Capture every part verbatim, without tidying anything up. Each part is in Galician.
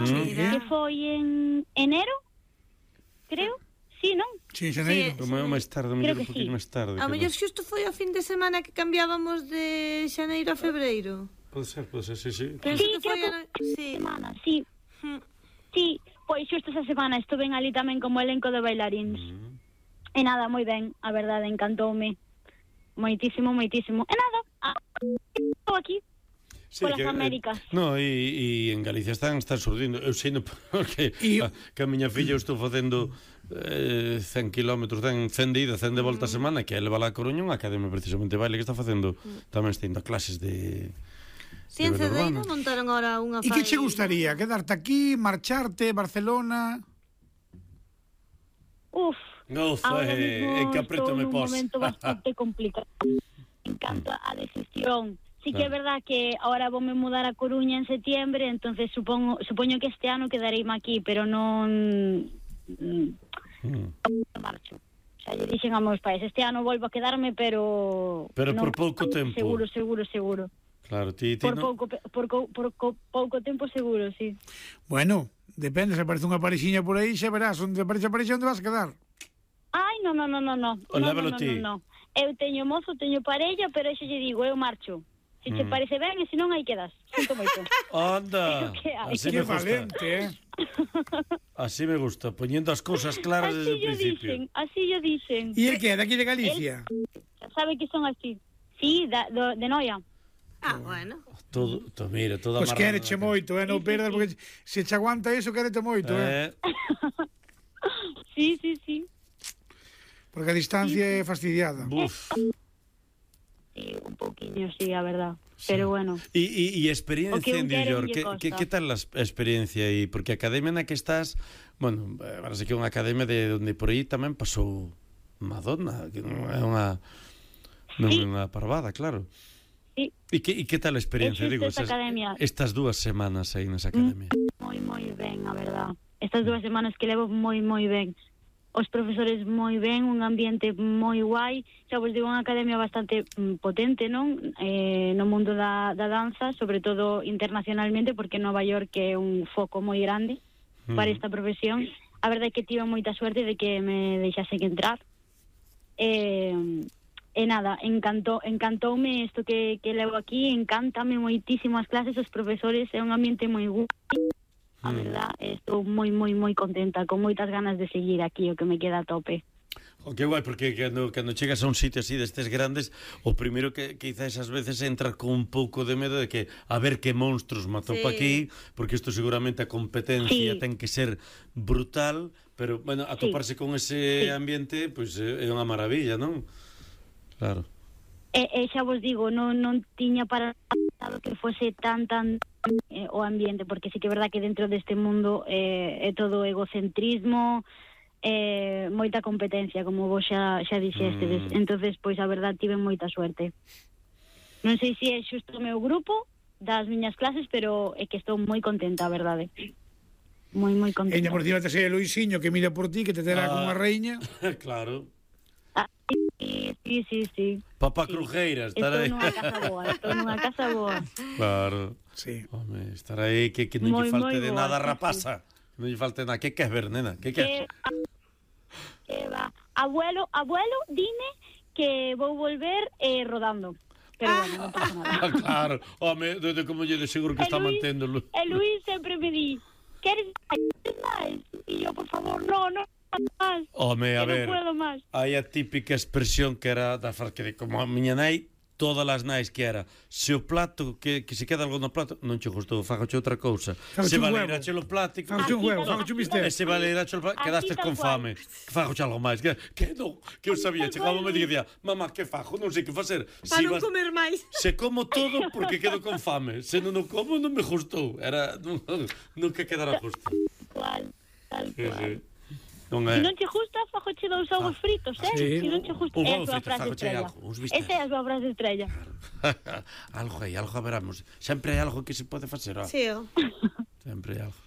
Mm. Que foi en enero, creo. Sí, non? Sí, xaneiro. Sí, o máis tarde, Creo mellor un que poquinho sí. máis tarde. A mellor xusto foi o fin de semana que cambiábamos de xaneiro a febreiro. Pode ser, pode ser, sí, sí. Penso Sí, que foi creo a... Sí. Semana, sí. Mm. Sí, pois xusto esa semana estuve ali tamén como elenco de bailaríns. Mm. E nada, moi ben, a verdade, encantoume. Moitísimo, moitísimo. E nada, ah, estou aquí. Sí, Polas que, Américas. Eh, no, e, e en Galicia están están surdindo. Eu sei no porque E- a, que a miña filla eu estou facendo eh, cen kilómetros, cen, cen de ida, cen de volta a semana, que ela va a Coruña, unha academia precisamente de baile que está facendo, tamén está indo a clases de Si en de Cedeiro urbana. montaron ahora unha E que che gustaría? Quedarte aquí, marcharte, Barcelona? Uf, Uf, ahora eh, mismo eh, que aprieto estou me nun pos. momento bastante complicado. Me encanta a decisión. Sí que é verdad que ahora voume mudar a Coruña en setiembre, entonces supongo, supoño que este ano quedareime aquí, pero non Mm. marcho. O sea, lle dixen a meus pais, este ano volvo a quedarme, pero Pero non, por pouco tempo. Seguro, seguro, seguro. Claro, ti, ti Por no... pouco pe- por, co- por co- pouco tempo seguro, sí. Bueno, depende, se aparece unha parexiña por aí, xa verás, onde aparece a parexa, onde vas a quedar. Ai, no, no, no, no, no. O No, lévalo no, no, ti. no, no. Eu teño mozo, teño parella, pero xa lle digo, eu marcho. Se te Mm. parece ben, e se non hai que das. Sinto moito. Anda, Que hai. así Que me gusta. valente, eh? Así me gusta, poniendo as cousas claras desde Así o yo principio. dicen, así yo dicen. E el que é, daqui de Galicia? Sabe que son así. Sí, da, do, de Noia. Ah, bueno. Todo, to, mira, todo Pois amarrado quéreche na moito, eh? Non Sí, sí, perdas, sí. porque se che aguanta eso, quérete moito, eh? Eh, Sí, sí, sí. Porque a distancia é fastidiada. buf. Sí, un poquinho, sí, a verdad. Pero bueno. E, e, e O experiencia que un en New quere, York, un lle que, costa. que, que tal a experiencia aí? Porque a academia na que estás, bueno, parece que é unha academia de onde por aí tamén pasou Madonna, que non é unha non é Sí. unha parvada, claro. Sí. E que, e que tal a experiencia, É xusto digo, esta academia. estas dúas semanas aí nesa academia? Moi, moi ben, a verdad. Estas dúas semanas que levo moi, moi ben. Os profesores moi ben, un ambiente moi guai. Xa vos digo, unha academia bastante mm, potente, non? Eh, no mundo da, da danza, sobre todo internacionalmente, porque Nova York é un foco moi grande para esta profesión. A verdade é que tive moita suerte de que me deixasen entrar. Eh, e nada, encantou, encantoume isto que, que levo aquí, encántame moitísimo as clases, os profesores, é un ambiente moi guai. A verdad, estou moi, moi, moi contenta, con moitas ganas de seguir aquí, o que me queda a tope. O que guai, porque cando, cando chegas a un sitio así destes grandes, o primeiro que quizás ás veces entra con un pouco de medo de que a ver que monstruos matou Sí. pa aquí, porque isto seguramente a competencia Sí. ten que ser brutal, pero, bueno, atoparse con ese Sí. ambiente, pois pues, é unha maravilla, non? Claro. E, e xa vos digo, non, non tiña para nada que fose tan, tan eh, o ambiente, porque sí que é verdad que dentro deste mundo eh, é todo egocentrismo, eh, moita competencia, como vos xa, xa dixestedes. Mm. Entonces, pois a verdad, tive moita suerte. Non sei se é xusto o meu grupo das miñas clases, pero é que estou moi contenta, a verdade. Moi, moi contenta. Eña, por cima te sei Luisiño que mira por ti, que te terá Ah. como unha reiña. Claro. Ah, sí, sí, sí, sí. Papá Sí. Crujeira, estar Estou aí. nunha casa boa, estou nunha casa boa. Claro. Sí. Home, estar aí que, que non lle Moi, falte moi de boa, nada sí, rapaza. Non lle falte nada. Que queres ver, nena? Que queres? Que, que va. Abuelo, abuelo, dime que vou volver eh, rodando. Pero bueno, non pasa nada. Ah, claro. Home, de, de como lle de seguro que E está Luis- manténdolo. E Luis sempre me di, queres máis? E yo, por favor, no, no, máis. Home, a Que ver. non puedo máis. Hai a típica expresión que era da far que de como a miña nai, todas as nais que era, se o plato que, que se queda algo no plato, non che gustou, fágoche outra cousa. Fágoche Se un huevo. valeirache o plato, Fágoche un Así huevo, tal- fágoche un así bistec. e se valeirache o plato, Así quedaste tal con cual. fame. Que fágoche algo máis, que, que non, que eu sabía, Así chegaba tal me cual. dicía, mamá, que fajo, non sei que facer. Para Si non vas- comer máis. Se como todo porque quedo con fame. Se non o como non me gustou. Era non, nunca quedara justo. Cual, tal Sí, cual. sí. Non Se é. non che gusta, fajoche dous ovos fritos, eh? sí. Se non che gusta, Un é a ovo súa frito, frase fagoche estrella. algo, uns bistecs. Esa é a súa frase estrella. Algo hai, algo haberamos. Sempre hai algo que se pode facer, ó. Sí, ó. Sempre hai algo.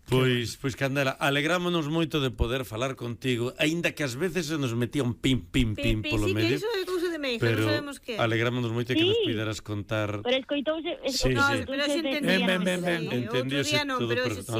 Pois, pois Candela, alegrámonos moito de poder falar contigo, aínda que ás veces se nos metía un pim pim pim Pi, pi, polo sí, que medio. iso é cousa de Pero hija, pero non sabemos que. alegrámonos moito que Sí. nos puderas contar. Pero escoitouse, Sí, escoitouse sí. Pero se de- entendía, Ben, ben, ben, ben. sí. Outro Entendiose día non, todo pero perfecto. ese sí.